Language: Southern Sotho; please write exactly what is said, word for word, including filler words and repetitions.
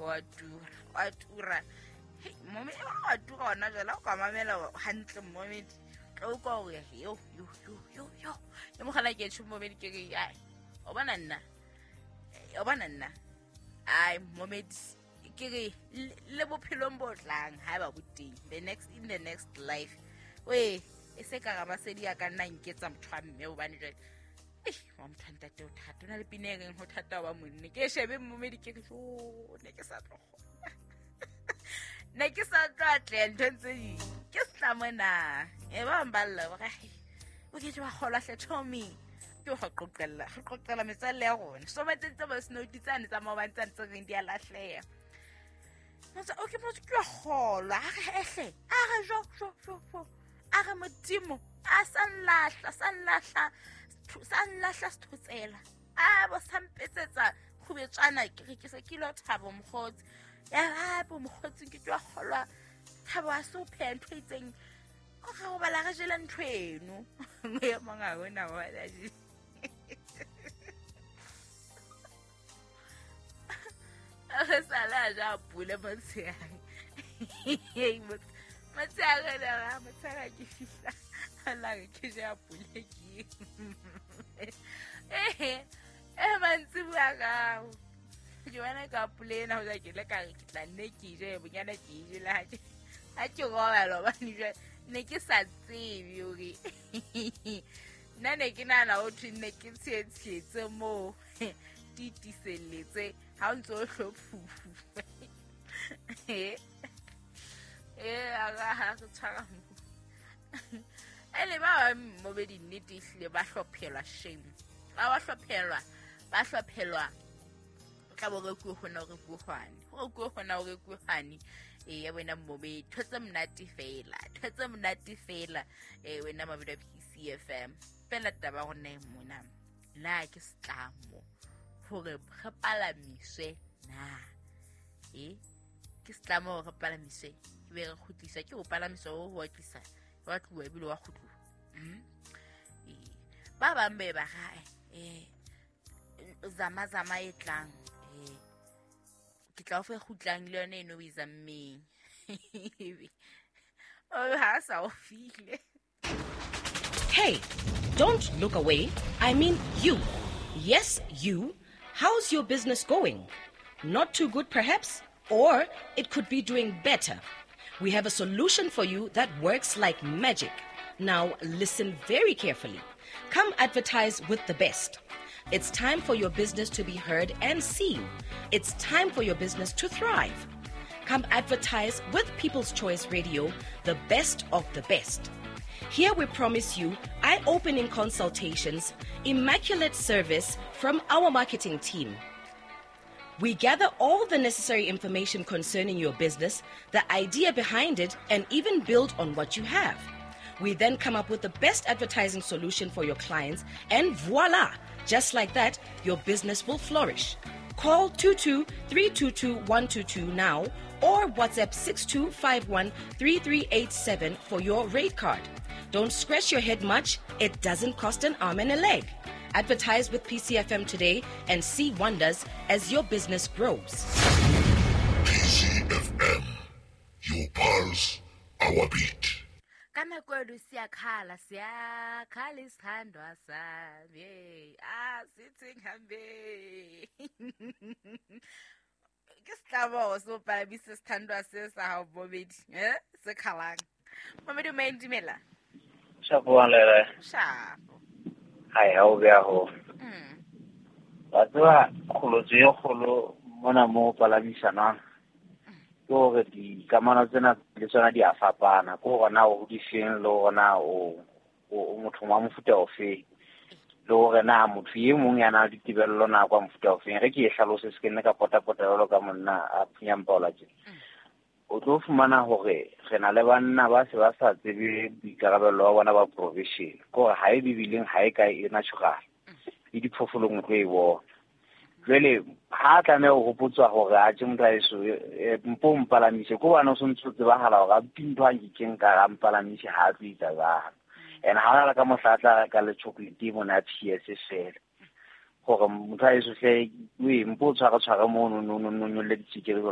Wa tura, wa tura. Hei, momedi wa tura ona jwale o ka mamela hantle momedi. Tlo utlwa hore yo yo yo yo yo. Le mogala ke tjho momedi ke re ai. O bona nna. O bona nna. Ai momedi ke re le bophelong bo tlang ha ba bo teng. The next in the next life. We e se ka ramasedi a ka nna nketsa motho wa mme hobane jwale eh wa motho wa ntate o thata o na le pina e reng ho thata wa monne ke shebe momedi ke re jo ne ke sa tlo kgona ne ke sa tlo atleha nthong tse ding ke setlamo na e ba bang ba lla ba re o ke wa kgolwa hle Tommy ke ho qoqella re qoqella metswalle ya rona so ba tsentse ba snow tsane tsa maobane tsane tse reng di a lahleha motsa o ke motho ke wa kgolwa a re ehle a re jo jo jo jo a re modimo a sa nlahla sa nlahla sa nlahla sethotsela a bo sa mpetsetsa kgubetswana ke re ke se ke lo thabo mokgotsi ya hape mokgotsi ke tswa kgolwa thabo a se o pheha ntho e itseng o re ho bala re jele ntho eno ya mong a ona wa la je re sala ja pule motshehare motshehare la motshehare ke fihla la re ke ja pule ke eh eh mantsibuya ka ke bona ka pule ena ho ja ke le ka re ke tla nne ke je bonyana ke je le ha ke ha ke robala hobane jwale ne ke sa tsebe hore nna ne ke nahana ho thwe ne ke tshietshetse moo titiselletse ha o ntso o hlophufu eh eh a ga ha re tshwara mo ele ba mobedi nnete ehlile ba hlophelwa shame ba ba hlophelwa ba hlophelwa tla bo re ku hona re ku hwane go ku hona re ku hwane e ya wena mobedi thotse monate fela thotse monate fela e wena mabedi P C F M fela taba go nne mona na ke setlamo hore re palamiswe na e ke setlamo hore re palamiswe ke be re kgutlisa ke ho palamiswa ho ho tlisa wa tluwa ebile wa kgutluwa e ba bang be ba ga eh zama zama e tlang eh ke tla o fe kgutlang le yona eno o e zammeng o ha sa o file. Hey, don't look away. I mean you. Yes, you. How's your business going? Not too good, perhaps? Or it could be doing better. We have a solution for you that works like magic. Now, listen very carefully. Come advertise with the best. It's time for your business to be heard and seen. It's time for your business to thrive. Come advertise with People's Choice Radio, the best of the best. Here we promise you eye-opening consultations, immaculate service from our marketing team. We gather all the necessary information concerning your business, the idea behind it, and even build on what you have. We then come up with the best advertising solution for your clients, and voila! Just like that, your business will flourish. Call two two three two two one two two now or WhatsApp six two five one three three eight seven for your rate card. Don't scratch your head much. It doesn't cost an arm and a leg. Advertise with P C F M today and see wonders as your business grows. P C F M, your pulse, our beat. Ka nako eno siyakhala siyakhala isithandwa sami ah sithi ngihambe ke setlamo so palamisa sithandwa se sa hao bobedi eh se khalang momedi o maindimela Shapo lere shapo hai ha o bea ho mm ba tswa kgolotso e kgolo mona mo palamisanang ke hore dikamano tsena le tsona di a fapana ke hore na o hodiseng le hore na o o motho wa mofuta ofe le hore na motho e mong ya nang le ditebello na kwa mofuta ofeng re ke e hlalose se ke nne ka potapota jwalo ka monna a phunyang paola tje o tlo fumana hore re na le banna ba se ba sa tsebe boikarabelo ba bona ba provision ke hore ha e bibileng ha e kae e natural le diphoofolong o tlo e bona. Jwale ha tlameha ho hopotswa hore a tje motho aeso mpo mpalamise ko bana o sontse o tsebahala hore a ntho a nkekeng ka ra mpalamise ha a tlo etsa jwalo. And ha hona le ka mohla a tla reka le chocolate mona ya P S fela hore motho aeso hle o e mpo o tshware tshware mono no no no nyolle ditsikiri.